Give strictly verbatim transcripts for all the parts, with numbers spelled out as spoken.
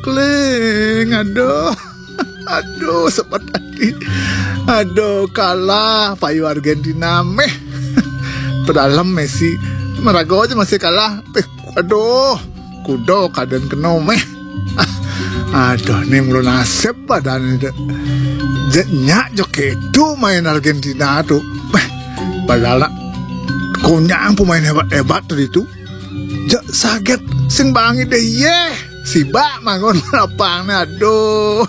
Kling, aduh. Aduh, sepet ati. Aduh, kalah payu Argentina méh. Padahal Messi maraga ja masih kalah. Péh, aduh, kuda kadén kena méh. Aduh, né mula nasib badané dé. Jé nyak jo kéto main Argentina to. Péh, padahal nak konyang pemain hébat-hébat to ditu. Ja saget sing bangi dé yéh. Sibak manggon lapangné, aduh.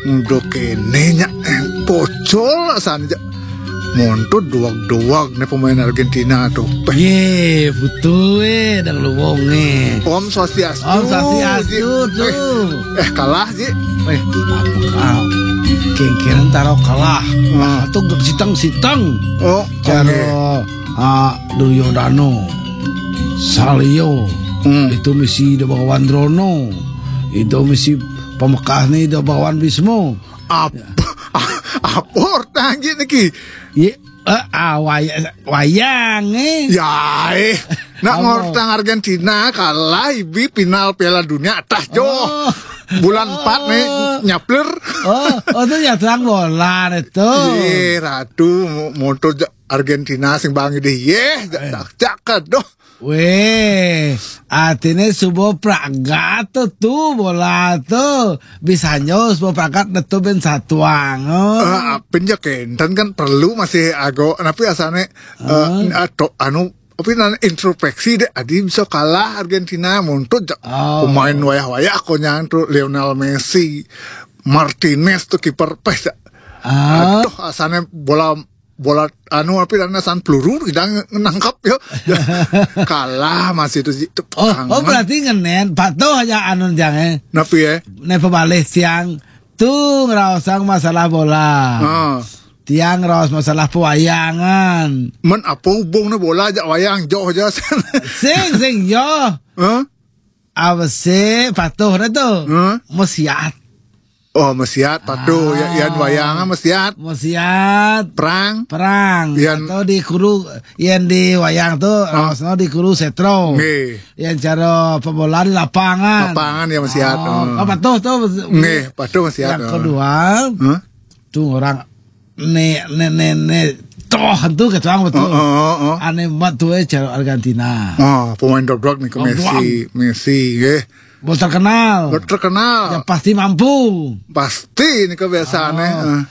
Nguda kéné nyak, eh, pocol asané ja. Montud duwag-duwag né pemain Argentina to. Péh. Yé, putu, eh, dang luwung, eh. Om Swastiastu, Om Swastiastu, Ji. Tuh. Eh, eh, kalah, Ji. Eh, apa kau? Kéngkéng tara kalah. Hmm. Nah, tuh siteng-siteng. Oh, cara, oké. Ah, Duryodana, Salya, hmm, itu misi Ida Bagawan Drona, itu misi pamekasné Ida Bagawan Bisma. Apa, apa ortang Ji niki? Yé, eh, ah, waya-, wayang, eh. Ya, eh. Nak apa? Ngortang Argentina kalah ibi final Piala Dunia atah jo. Oh. Bulan empat né, oh, nyapler. Oh, oh, itu nyatang bola itu. Yé, Ratu, mo-, motor ja-, Argentina sing bangi dé yéh, ja-, eh, jak-, jak, aduh. Wéh, artiné suba pragat to bola to. Bisanyo suba pragat netu bén satuang. Oh. Eh, apin ja kénten kan perlu masih ago, napi asané, eh, ah, ato-, anu, apa namanya, introspeksi dé, adi bisa kalah Argentina, montud ja-, oh, pemain wayah-wayah konyang to, Lionel Messi, Martinez to kiper, péh ja. Ah. Aduh, asané bola bola anu, apa namanya, san peluru, tidak nangkap yo. Kalah masih to, Ji. Oh, oh, berarti ngenén, patuh aja anu jang, eh. Napi, eh? Né pabalih tiang tu ngraosang masalah bola. Ah. Tiang ngraos masalah pewayangan. Men apa hubungnya bola jak wayang, jauh aja. Sing, sing, yo. Hah? Apa sih patuh dah tu? Hah? Mesiat. Oh, mesiat, patuh. Ya, yan wayang mesiat. Mesiat. Perang. Perang. Yan atau di kuru, yan di wayang tu, ah, raosna di kuru setro. Nggih. Yan cara pembola di lapangan. Lapangan ya mesiat. Oh, oh, patuh tu. Nggih, patuh mesiat. Yang kedua, hah? Tu orang né, né, né, né, toh tu kata orang betul. Oh, oh, oh, oh. Ané mat tu, eh, cara Argentina. Oh, pemain dog-dog nih ke Messi, Messi, nggih. Bos terkenal. Bos terkenal. Ya, pasti mampu. Pasti ini kebiasaannya. Oh. Eh.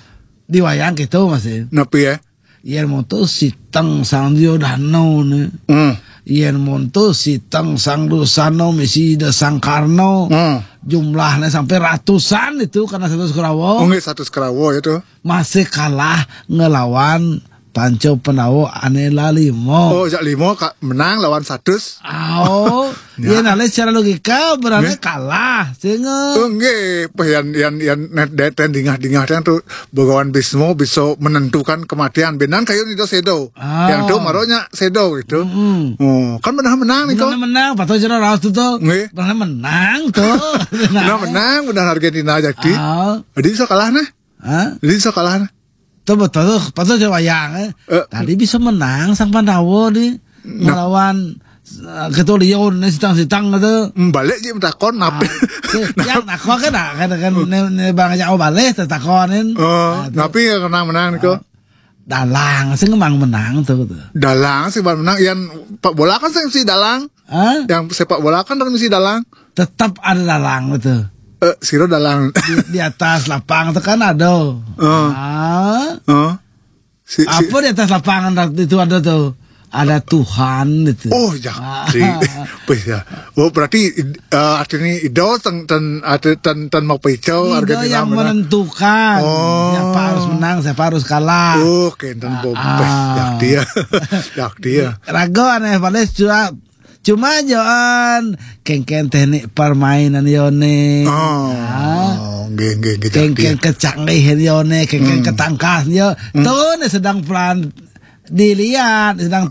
Di wayang gitu, Mas, ya. Napi ya? Yén monto siteng sang Duryodana né. Hmm. Yén monto siteng sang Dursana misi da sang Karna. Hmm. Jumlahnya sampai ratusan itu karena satu Kurawa. Oh, nggih, satu Kurawa itu. Masih kalah ngelawan Panca Pandawa ané lah lima. Oh, jak lima ka-, menang lawan satus. Oh, ya, nah, secara logika berarti kalah, sehingga. Oh, nggih, pas yan, yan, yan, net, det, ten dingah-dingah ten tu Bagawan Bisma bisa menentukan kematian. Benan kayu ni do sedo. Ah. Yang tu maronya sedo gitu. Mm-mm. Oh, kan menang-menang ni kok. Menang-menang, patut jero raos tu tu. Nggih. Menang-menang tu. Menang-menang, benar Argentina jadi. Ah. Jadi bisa kalah nah. Hah? Jadi bisa kalah nah. Tu betul tu, betul je wayang, eh. Eh. Tadi bisa menang sang Pandawa ni. Nah. Melawan, eh, Ketuliun ni sitang-sitang tu. Hmm, balik je takon, napi? Ah, yang takon kan, kan, kan, ni, ni bang ajak balik, takonin. Oh, nah, tu. Napi menang-menang ni kok? Ah, dalang, sing mang menang tu, tu. Dalang, sing mang menang, yang pak bola kan sing si dalang. Hah? Yang sepak bola kan mesti dalang. Tetap ada dalang itu. Eh, sira dalang. Di, di atas lapang itu kan ada. Oh. Ah. Oh. Si, si. Apa di atas lapangan itu ada tuh? Ada Tuhan itu. Oh, ya. Ah. Si. Apa ya? Oh, berarti, eh, artinya itu ten, ten, arti ten, ten mau pecah, Argentina yang menang. Menentukan. Oh. Siapa harus menang, siapa harus kalah. Oh, kenten ah, bompes. Ah. Yak dia. Yak dia. Raga ané balik surat. Cuma joan, kéngkén teknik permainan yoné. Oh, nggih, nggih, nggih, kéngkén kecanggihan yoné, kéngkén ketangkas yo. Hmm. Tuh nih sedang pelan dilihat, sedang